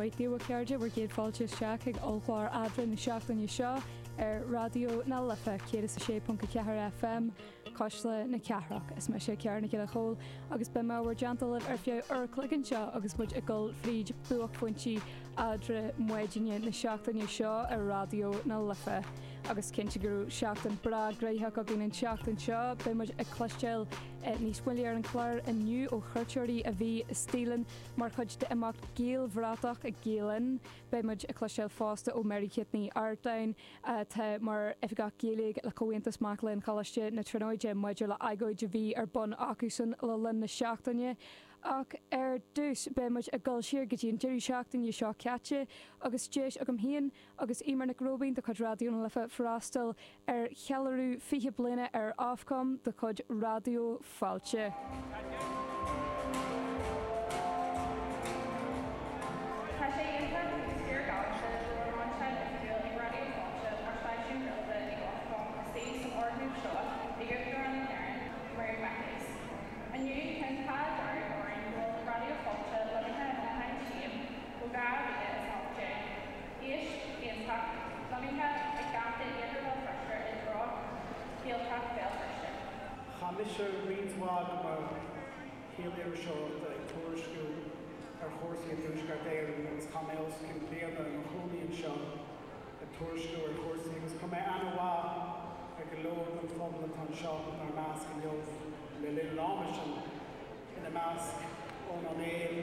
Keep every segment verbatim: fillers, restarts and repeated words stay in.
mhaith daoibh, a chairde, bhur gcéad fáilte isteach ag ollchlár eadra na seachtaine seo ar Raidió na Life céad is a sé ponc a ceathair F M, Cuisle na Cathrach. Is mise Ciara Nic Giolla Chóill agus beidh mé bhur dteannta libh ar feadh uair an chloig anseo agus muid ag dul fríd buaicphointí eadra maidine na seachtaine seo ar Raidió na Life. Agus cinnte go raibh seachtain breá gnóthach againn an tseachtain seo, beidh muid ag cloisteáil níos moille ar an chlár inniu ó chuairteoirí a bhí istigh linn mar chuid d'imeacht Gaelbhratach ag Gael Linn. Beidh muid ag cloisteáil fosta ó Mary Kate Ní Artáin atá mar oifigeach Gaeilge le Comhaontas Mac Léinn Choláiste na Tríonóide maidir le agóid a bhí ar bun acusan le linn na seachtaine. Ach ar dtús beidh muid ag dul siar go dtí an deireadh seachtaine seo caite agus deis agam féin agus Eimear Nic Róibín de chuid Raidió na Life freastal ar cheiliúradh fiche bliana ar Ofcom de chuid Raidió Fáilte. Tá sé iontach agus fíorghalánta go bhfuil lainseáil oifigiúil ag Raidió Fáilte mar stáisiún craolta ag Ofcom istigh san fhoirgneamh seo ag Uachtarán na hÉireann, Mary McAleese. Inniu tá an t-ádh dearg orainn go bhfuil Raidió Fáilte lonnaithe ina shainchím ó dhá mhíle is a hocht déag. Áis iontach lonnaithe ag geata Iarthar Bhéal Feirste i dtreo Ghaeltacht Bhéal Feirste. Chaith mise roinnt mhaith de mo shaol iriseoireachta ag tuairisciú ar chúrsaí i dTuaisceart Éireann agus chaith mé os cionn bliana i mo chónaí anseo ag tuairisciú ar chúrsaí agus chuir mé aithne mhaith ar go leor den phobal atá anseo inár measc inniu le linn an ama sin, ina measc Eoin Ó Néill,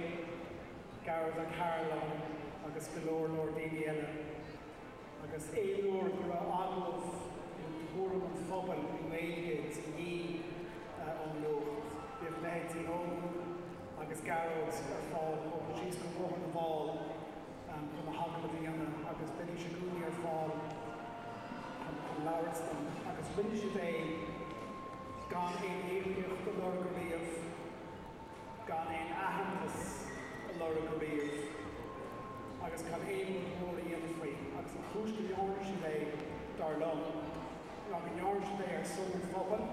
Gearóid Ó Cairealláin agus go leor leor daoine eile. Agus aon uair go raibh agallamh nó tuairim an phobail i nGaeilge de dhíth ón nuacht, bhíodh leithéidí Eoin agus Gearóid ar fáil ó síos go Bóthar na bhFál chun na hagallaimh a dhéanamh agus bhídís i gcónaí ar fáil chun chun labhairt dom agus rinne siad é gan aon íocaíocht a lorg riamh, gan aon aitheantas a lorg riamh agus gan aon rud mór a dhéanamh faoi. Agus an chúis go ndearna siad é, dar liom, ná go ndearna siad é ar son an phobail,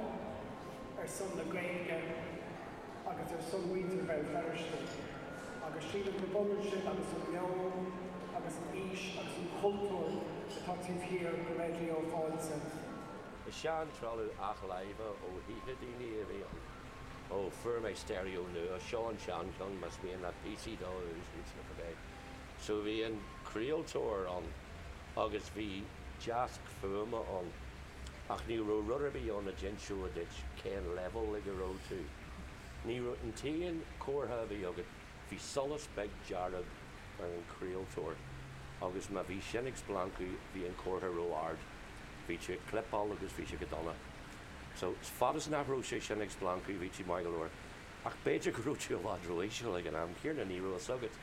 ar son na Gaeilge agus ar son mhuintir Bhéal Feirste. Agus sílim gurb ionann sin agus an meon agus an fhís agus an cultúr atá taobh thiar de Raidió Fáilte. Is sean-trealamh athláimhe ó thithe daoine a bhí ann. Ó fuair mé stereo nua, seo an seancheann más mian leat píosaí dó a úsáid sna cibé. So bhí an craoltóir ann agus bhí deasc fuaime ann ach ní raibh rud ar bith ann a d'inseodh duit cén level ag a raibh tú. Ní raibh an t-aon chomhartha a bhí agat, bhí solas beag dearg ar an chraoltóir agus má bhí sin ag splancadh bhí an comhartha ró-ard. Bhí tú ag clipeáil agus bhí sé go dona. So fad is nach raibh sé sin ag splancadh bhí tú maith go leor. Ach b'fhéidir go raibh tú i bhfad ró-íseal ag an am céanna, ní raibh a fhios agat.